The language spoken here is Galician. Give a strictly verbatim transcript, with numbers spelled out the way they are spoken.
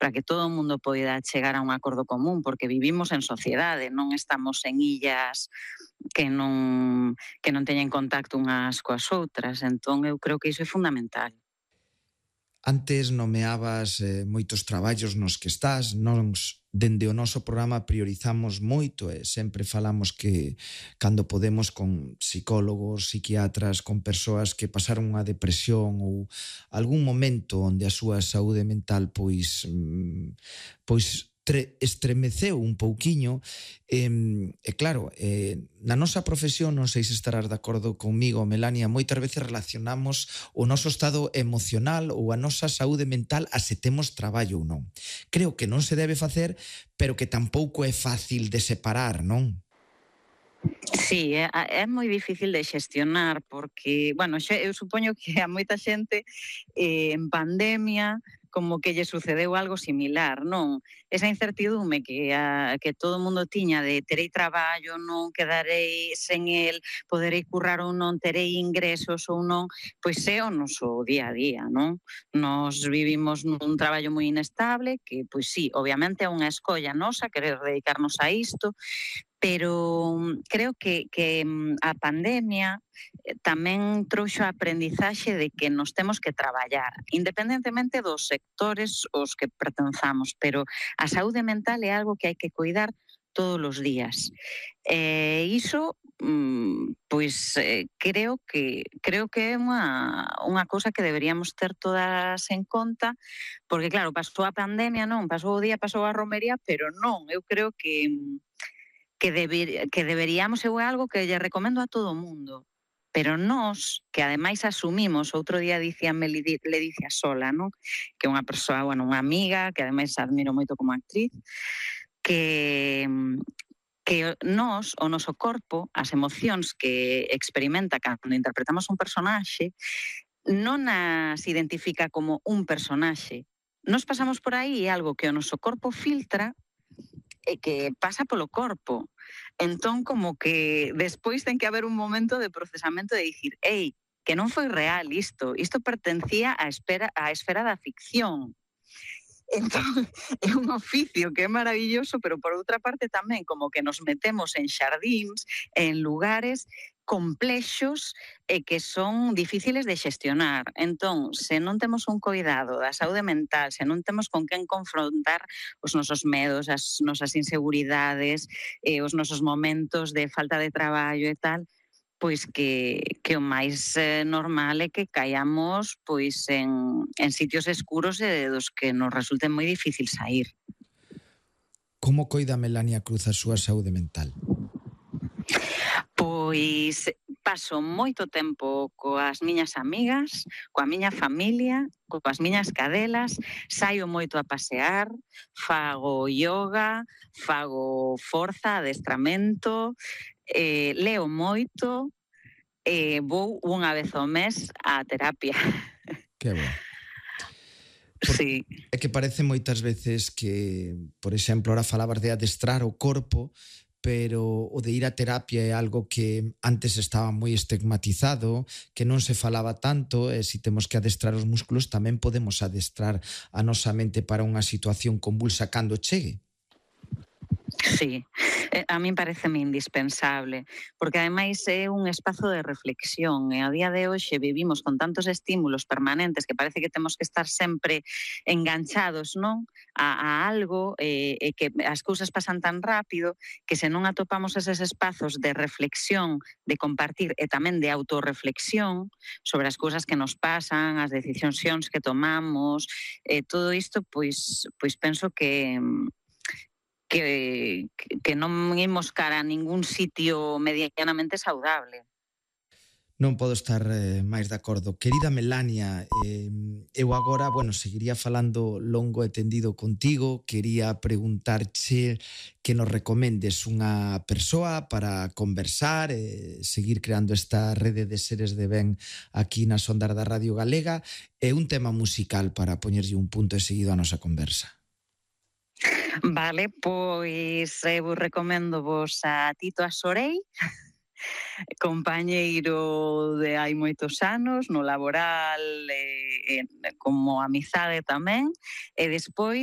para que todo o mundo poida chegar a un acordo común, porque vivimos en sociedade, non estamos en illas que non, que non teñen contacto unhas coas outras, entón eu creo que iso é fundamental. Antes nomeabas eh, moitos traballos nos que estás, nós dende o noso programa priorizamos moito e sempre falamos que cando podemos con psicólogos, psiquiatras, con persoas que pasaron unha depresión ou algún momento onde a súa saúde mental pois pois tre, estremeceu un pouquiño e, e claro, eh, na nosa profesión, non sei se estarás de acordo conmigo, Melania, moitas veces relacionamos o noso estado emocional ou a nosa saúde mental a se temos traballo ou non. Creo que non se debe facer, pero que tampouco é fácil de separar, non? Sí, é, é moi difícil de xestionar porque, bueno, xe, eu supoño que a moita xente eh, en pandemia como que lle sucedeu algo similar, non? Esa incertidume que, a, que todo o mundo tiña de terei traballo, non quedarei sen el, poderei currar ou non, terei ingresos ou non, pois é o noso día a día, non? Nos vivimos nun traballo moi inestable, que, pois sí, obviamente é unha escolla nosa querer dedicarnos a isto, pero creo que, que a pandemia tamén trouxo a aprendizaxe de que nos temos que traballar, independentemente dos sectores aos que pertenzamos, pero a saúde mental é algo que hai que cuidar todos os días. E iso, pois, creo que creo que é unha, unha cousa que deberíamos ter todas en conta, porque claro, pasou a pandemia, non, pasou o día, pasou a romería, pero non, eu creo que que, deber, que deberíamos, eu é algo que lle recomendo a todo o mundo, pero nós, que ademais asumimos, outro día dicíame Ledicia Sola, non? Que é unha persoa, bueno, unha amiga, que ademais admiro moito como actriz, que, que nós, o noso corpo, as emocións que experimenta cando interpretamos un personaxe, non as identifica como un personaxe. Nós pasamos por aí algo que o noso corpo filtra e que pasa polo corpo. Entón, como que despois ten que haber un momento de procesamento de dicir, ei, que non foi real isto, isto pertencía á, espera, á esfera da ficción. Entón, é un oficio que é maravilloso, pero por outra parte tamén como que nos metemos en xardíns, en lugares complexos e que son difíciles de xestionar. Entón, se non temos un cuidado da saúde mental, se non temos con quen confrontar os nosos medos, as nosas inseguridades, eh, os nosos momentos de falta de traballo e tal, pois que, que o máis eh, normal é que caiamos pois en, en sitios escuros e dos que nos resulten moi difícil sair. Como coida Melania Cruz a súa saúde mental? Pois paso moito tempo coas miñas amigas, coa miña familia, coas miñas cadelas, saio moito a pasear, fago yoga, fago forza, adestramento, eh, leo moito, eh, vou unha vez ao mes á terapia. Que bo. Por, sí. É que parece moitas veces que, por exemplo, ahora falabas de adestrar o corpo, pero o de ir a terapia é algo que antes estaba moi estigmatizado, que non se falaba tanto, e se temos que adestrar os músculos tamén podemos adestrar a nosa mente para unha situación convulsa cando chegue. Sí, a min pareceme indispensable, porque ademais é un espazo de reflexión e a día de hoxe vivimos con tantos estímulos permanentes que parece que temos que estar sempre enganchados, non? A, a algo e, e que as cousas pasan tan rápido que se non atopamos eses espazos de reflexión, de compartir e tamén de autorreflexión sobre as cousas que nos pasan, as decisións que tomamos, e todo isto, pois, pois penso que Que, que non imos cara a ningún sitio medianamente saudable. Non podo estar eh, máis de acordo. Querida Melania, eh, eu agora, bueno, seguiría falando longo e tendido contigo, quería preguntarche que nos recomendes unha persoa para conversar, eh, seguir creando esta rede de seres de ben aquí nas ondas da Radio Galega, e un tema musical para poñerlle un punto e seguido a nosa conversa. Vale, pois eu recomendo vos a Tito Asorei, compañeiro de hai moitos anos, no laboral, e, e como amizade tamén, e despois